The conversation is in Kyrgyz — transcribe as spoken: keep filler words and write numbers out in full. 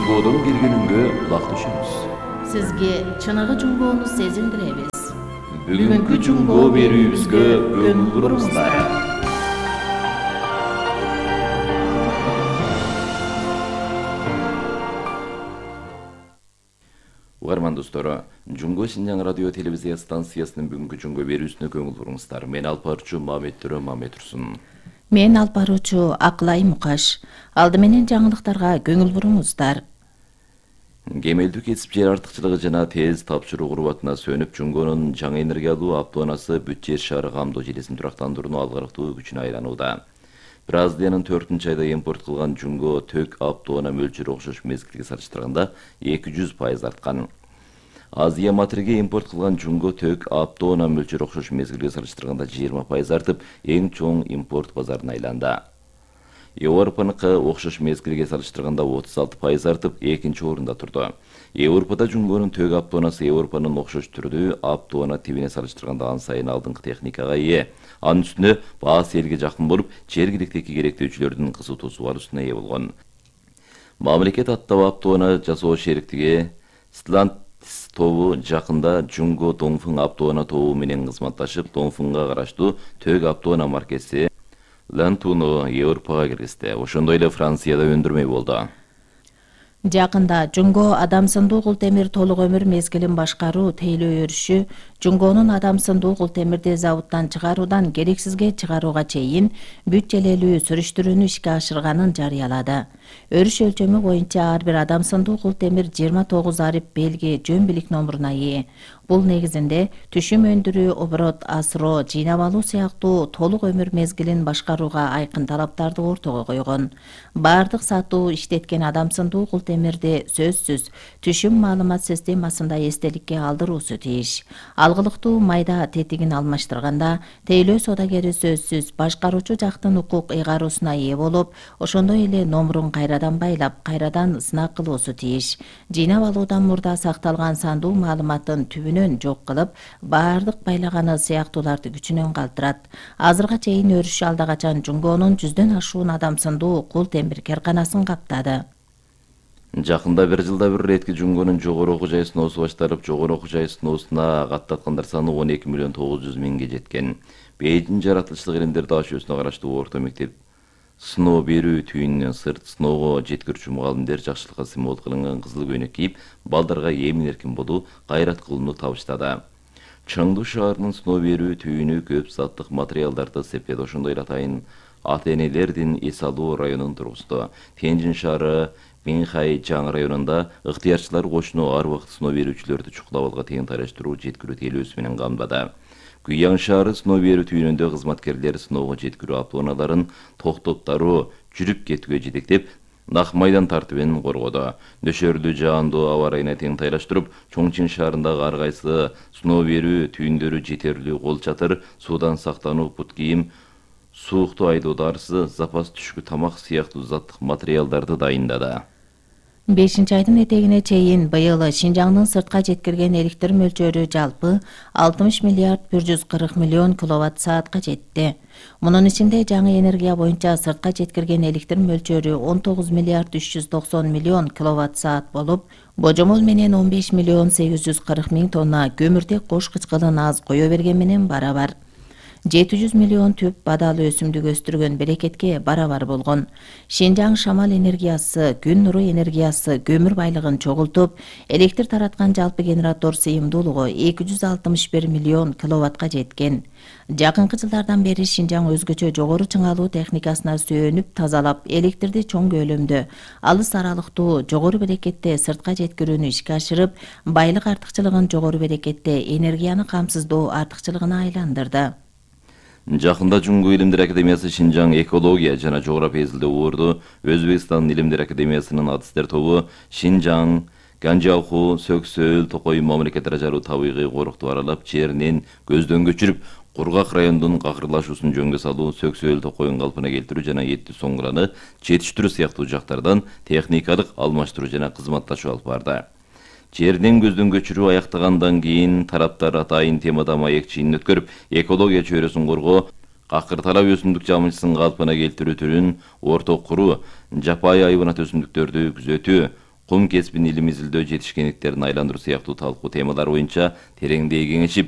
Жунгоодон келгениңге кулак түшөбүз. Сизге чыныгы жунгоону сезиндиребиз. Бүгүнкү жунгоо берүүбүзгө көңүл буруңуздар. Угарман достору, Жунгоо Шинжаң радио телевизия станциясынын бүгүнкү жунгоо берүүсүнө көңүл буруңуздар. Мен алып баруучу Мамет Төрө Мамет Турсун. Мен алып баруучу Акылай Мукаш. Алды менен жаңылыктарга көңүл буруңуздар. Кемелдүү кесип жер артыкчылыгы жана тез тапшыруу курбатына сөнүп, Жунгоонун жаңы энергиялуу автоунаасы бүт жер шаары камдоо желесин турактандырууну алгарактуу күчүнө айланууда. Бразилиянын төртүнчү айда импорт кылган Жунгоо төк автоунаа мөлчөрү окшош мезгилге салыштырганда эки жүз пайыз арткан. Азия матириге импорт кылган Жунгоо төк автоунаа мөлчөрү окшош мезгилге салыштырганда жыйырма пайыз артып, эң чоң импорт базарына айланды. Европаныкы окшош мезгилге салыштырганда отуз алты пайыз артып, экинчи орунда турду. Европада Жунгоонун төк автоунаасы Европанын окшош түрдүү автоунаа тибине салыштырганда ан сайын алдыңкы техникага ээ. Анын үстүнө баасы элге жакын болуп, жергиликтеги керектөөчүлөрдүн кызуу тосубалуусуна ээ болгон. Мамлекет аттуу автоунаа жасоо шериктиги Stellantis тобу жакында Жунгоо Dongfeng автоунаа тобу менен кызматташып, Dongfengга караштуу төк автоунаа маркеси Лантуну Европага киргизди. Ошондой эле Францияда өндүрмөй болду. Жакында Жунгоо адам сындуу кул темир толук өмүр мезгилин башкаруу тейлөө өрүшү Жунгоонун адам сындуу кул темирди заводдон чыгаруудан керексизге чыгарууга чейин бүт желелүү сүрүштүрүүнү ишке ашырганын жарыялады. Өрүш өлчөмү боюнча ар бир адам сындуу кул темир жыйырма тогуз арип белги жөн билик номуруна ээ. Бул негизинде түшүм өндүрүү, оборот асыроо, жыйнап алуу сыяктуу толук өмүр мезгилин башкарууга айкын талаптарды ортого койгон. Бардык сатуу иштеткен адам сындуу кул темирди сөзсүз түшүм маалымат системасында эстеликке алдыруусу тийиш. Алгылыктуу майда тетигин алмаштырганда тейлөө содагери сөзсүз башкаруучу жактын укук ыйгаруусуна ээ болуп, ошондой эле номурун кайрадан байлап, кайрадан сынак кылуусу тийиш. Жыйнап алуудан мурда сакталган сандуу маалыматтын түбүнөн жок кылып, бардык байлаганы сыяктууларды күчүнөн калтырат. Азырга чейин өрүш алда качан Жунгоонун жүздөн ашуун адам сындуу кул темир карканасын каптады. Жакында бир жылда бир иретки Жунгоонун жогору окуу жай сыноосу башталып, жогору окуу жай сыноосуна каттаткандар саны он эки миллион тогуз жүз миңге жеткен. Бейжиң жаратылыштык илимдер дашөөсүнө караштуу орто мектеп сыноо берүү түйүнүнөн сырт сыноого жеткирүүчү мугалимдер жакшылыкка символ кылынган кызыл көйнөк кийип, балдарга эмин эркин болуу, кайрат кылууну табыштады. Чаңдуу шаарынын сыноо берүү түйүнү көп заттык материалдарды септеді. Ошондой эле атайын ата-энелердин эс алуу районун тургузду. Тяньжин шаары Минхай Чаң районунда ыктыярчылар кошуну ар убакыт сыноо берүүчүлөрдү чукулап алга тең тайраштыруу жеткирүү тейлөөсү менен камдады. Гуяң шаары сыноо берүү түйүнүндө кызматкерлер сыноого жеткирүү автоунааларын токтоп-таруу, жүрүп кетүүгө жетектеп, нак майдан тартибин коргоду. Нөшөрлүү жаандуу аба ырайына тең тайраштырып, Чоңчин шаарындагы ар кайсы сыноо берүү түйүндөрү жетерлүү кол чатыр, суудан сактануу бут кийим, суукту айдоо дарысы, запас түшкү тамак сыяктуу заттык материалдарды дайындады. бешинчи айдын этегине чейин быйыл Шинжаңдын сыртка жеткирген электр мөлчөрү жалпы алтымыш миллиард бир жүз кырк миллион киловатт саатка жетти. Мунун ичинде жаңы энергия боюнча сыртка жеткирген электр мөлчөрү он тогуз миллиард үч жүз токсон миллион киловатт саат болуп, божомол менен он беш миллион сегиз жүз кырк миң тонна көмүртек кош кычкылын аз кое берген менен барабар. жети жүз миллион түп бадал өсүмдүк өстүргөн берекетке барабар болгон. Шинжаң шамал энергиясы, күн нуру энергиясы көмүр байлыгын чогултуп, электр тараткан жалпы генератор сыйымдуулугу эки жүз алтымыш бир миллион киловаттка жеткен. Жакынкы жылдардан бери Шинжаң өзгөчө жогору чыңалуу техникасына сүйөнүп тазалап, электрди чоң көлөмдө, алыс аралыктуу, жогору берекетте сыртка жеткирүүнү ишке ашырып, байлык артыкчылыгын жогору берекетте энергияны камсыздоо артыкчылыгына айландырды. Жакында Жунгоо Илимдер академиясы Шинжаң экология жана жогорапия изилдөө орду, Өзбекстан Илимдер академиясынын адыстер тобу Шинжаң, Ганжауху, Сөксөл, Токой мамлекеттер жаруу табигый корукту аралап, жеринен көздөн көчүрүп, кургак райондун какырлашуусун жөнгө салуу, Сөксөл, Токойун калпына келтирүү жана Эtti Соңгураны жетиштирүү сыяктуу жактардан техникалык алмаштыруу жана кызматташуу алып барды. Жерден көздөн көчүрүү аяктагандан кийин тараптар атайын темада маек чыйынын өткөрүп, экология чөйрөсүн коргоо, какыр талап өсүмдүк жамылчысын калпына келтирүү түрүн орток куруу, жапайы айбанат өсүмдүктөрдү күзөтүү, кум кесибин илим изилдөө жетишкендиктерин айландыруу сыяктуу талкуу темалар боюнча тереңдей кеңешип,